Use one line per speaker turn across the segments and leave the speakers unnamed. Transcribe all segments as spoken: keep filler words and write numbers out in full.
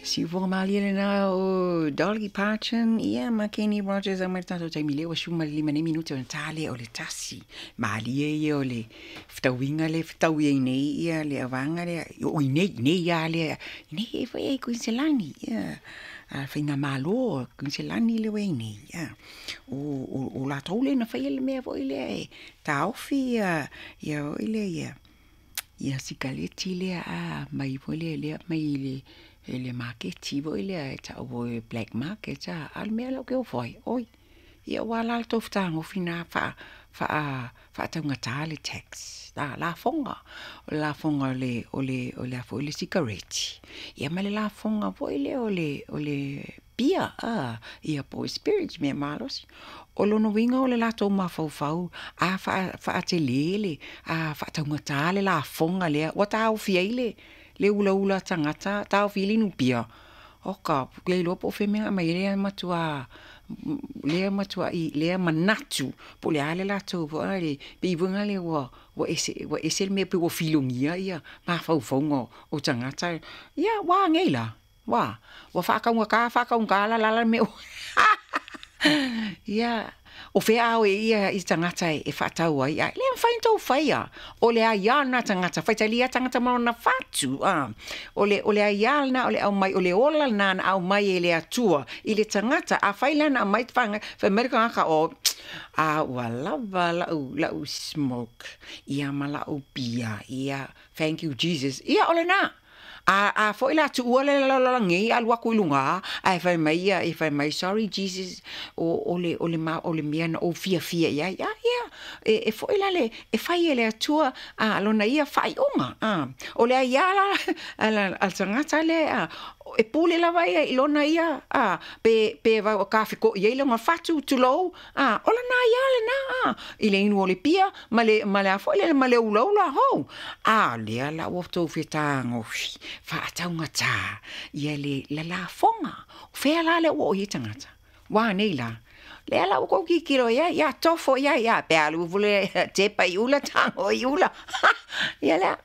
Siufoga malie lena o Dolly Parton ia ma Kenny Rogers a mai le tatou taimi lea ua sefulu ma le lima nei minute ona ta lea o le tasi. Malie ia o le fetauiga lea e fetaui ai nei ia le auvaega lea o i nei nei lava lea i nei e foi ai Kuiniselani ia a le faigamalo a Kuiniselani lea ua i ai nei ia. O o o latou lea na faia le mea foi lea e taofi ia ia foi lea ia ia sikaleti lea a mai foi lea lea mai i le i le maketi foi lea e tau o black market a a o le mea lea ou te ofo ai, oi, ia ua la le tou fetagofi lena faa faa faataugata le tax, la lafoga, o le lafoga o le o le o le a foi le sikareti, ia ma le lafoga foi lea o le o le pia a, ia po o spirits mea malosi. O lona uiga o le latou mafaufau a faatele le a faataugata le lafoga lea ua taofi ai le le ulaula a tagata taofi ai le inupia. Oka, le iloa po o fea le mea na aumai ai lea matua lea matuai lea manatu po o le a le latou foi lea pei foi lea ua ua ese ua ese le mea pei ua filogia ia mafaufauga o tagata. Ia ua a nei la? Ua ua faataugata faataugata la le a le mea ua ia o fea a o i ai ia tagata e faatau ai ae le mafai ona tou faia. O le aia lena a tagata, faitalia tagata ma lona fatu a. O le o le aia lena o le aumai o le ola lena na aumai e le Atua i le tagata. Afai la na aumai fai mai le tagata o a ua lava lau lau smoke ia ma lau pia ia thank you Jesus ia o lena. A a foi la tuua le lalolagi alu atu i luga ae fai mai ia e fai mai sorry Jesus o o le o le ma o le mea na ou fiafia i ai a ia e e foi la le e fai e le Atua a lona ia faaiuga a o le aiā la a le tagata lea e pule lava ia i lona ia a pe pe kafekoʻi ai lona fatu tulou a o lana aiā lena a i le inu o le pia ma le ma le a foi lele ma le ulaula hou a lea la ua tou fetagofi faataugata ia le lalafoga o fea la lea ua oo i ai tagata ua anei la lea la ua tou tilotilo i ai ia tofo i ai ia pe alu ifo le tepa i ula tago i ula ia lea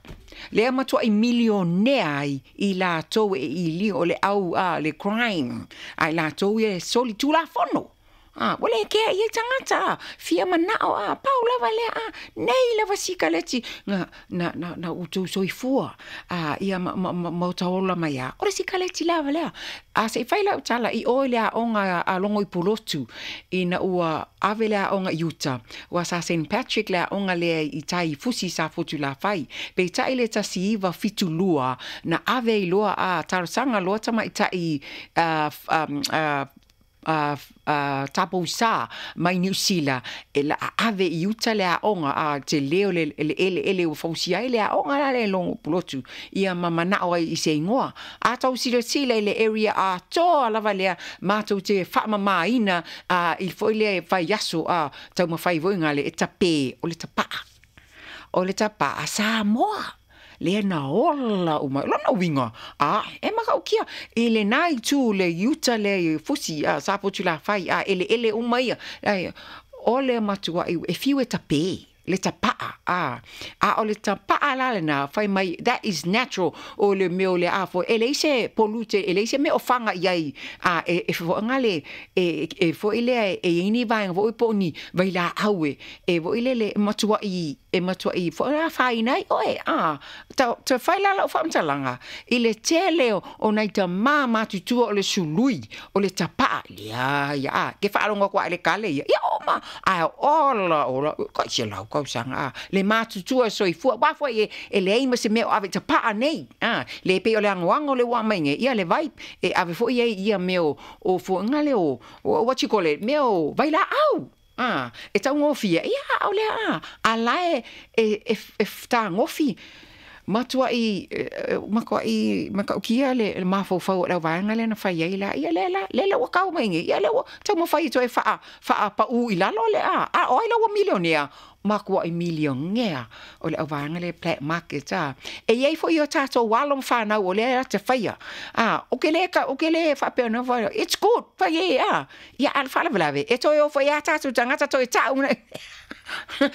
lea matuai milionea ai i latou e ili o le au a le crime a i latou ia e soli tulafono a ua le kea i ai tagata a fia manao a pau lava lea a nei lava sikaleti na na na na outou soifua a ia ma ma ma otaola mai a o le sikaleti lava lea a se i fai lau tala i o i le aoga a Logo i Pulotu ina ua ave le aoga i uta ua sa Saint Patrick le aoga lea i tai i Fusi sa Fotulafai peitai le tasi iva fitu lua na ave ai loa a talosaga loa tamaitai a a a a tapoisa mai Niu Sila e la ave i uta le aoga a tele o le le eleele ua fausia ai le aoga la le Logo Pulotu ia ma manao ai i se igoa a tou silasila i le area atoa lava lea matou te faamamaina a i foi lea vaiaso a taumafai foi gale e tape o le tapaa o le tapaa Samoa lea na ola uma lona uiga a e matautia i lena itu le iuta lea i Fusi a Safotulafai a eleele uma ia o le matuai e fiu e tape le tapaa a a o le tapaa la lena fai mai that is natural o le mea o le a foi e leai se pollute e leai se mea o faga i ai a e e foaga le e e foi lea e i ai ni vaega foi po o ni vailaau e e foi lele e matuai e matuai foi afaina ai oe a ta ta fai la lau faamatalaga i le tele o nai tamā matutua o le sului o le tapaa leai a ke faalogo atu a i le kale ia ia oma ae ola ola kai selau tausaga a le matutua soifua aua foi e e leai ma se mea o ave i tapaa nei a le pei o le agoago le ua aumai nei ia le vai e ave foi ai ia mea o o fuaga lea o what you call it mea o vailaau a e taugofie ia a o lea a a la e e e fetagofi matuai matuai matautia le mafaufau o le auvaega lea na fai ai la ia lea la lea la ua tau mai nei ia lea ua taumafai e toe faa faapau i lalo le a a o ai la ua milionea. Makuaʻi milionea o le auvaega lea black market a. E iai foi o tatou alo ma fanau o lea e te faia. A, o ke le ka o ke le faapea na fai, it's good, fai e a. Ia a le faalavelave, e toe o foi a tatou tagata toe ta'u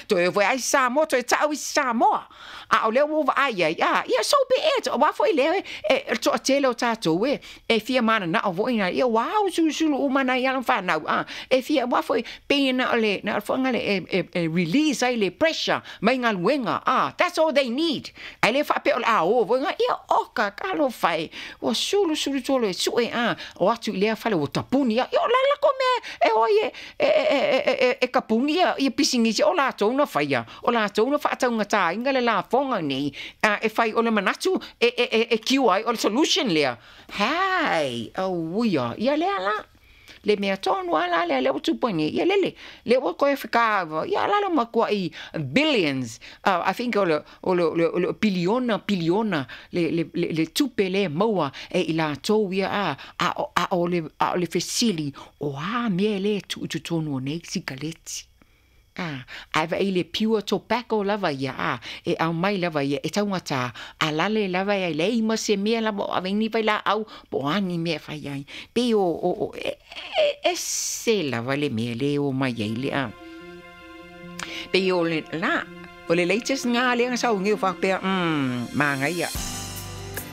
toe o foi ai Samoa, toe ta'u i Samoa. A o lea ua vaai ai, a, ia so be it. Auā foi lea e e toatele o tatou e e fia mananao foi na ia ua usulusulu uma nai alo ma fanau a e fia auā foi pei na o le na o le foʻi le e, e, e release ai le pressure mai galuega a. That's all they need. Ae le faapea o le a o foi ia oka talofa e ua sulusulu tolo e suʻe a o atu i lea fale ua tapuni ia o la lako mea e oi e e e e e kapuni ia ia pisinisi o latou na faia o latou na faataugatāina le lafoga nei a e fai o le manatu e e e, e kiu ai o le solution lea hai auia ia lea la le mea tonu a la lea lea ua tupu ai nei ia lele lea ua koe fekava ia la le makuaʻi billions, uh, I think o le o le o le, o le piliona piliona le le le, le tupe le maua e i latou ia a a a o le a o le fesili o a mea le tuu i totonu o nei sikaleti a ae vaai le pure tobacco lava ia a e aumai lava ia e taugatā a lale lava ia leai ma se mea lava o aveini vailaau po o ani mea e fai ai pei o o o e, e, ese lava le mea le o mai ai le a pei o le la o le latest ngā lea na sau ngeu whakapea mm, māngaia.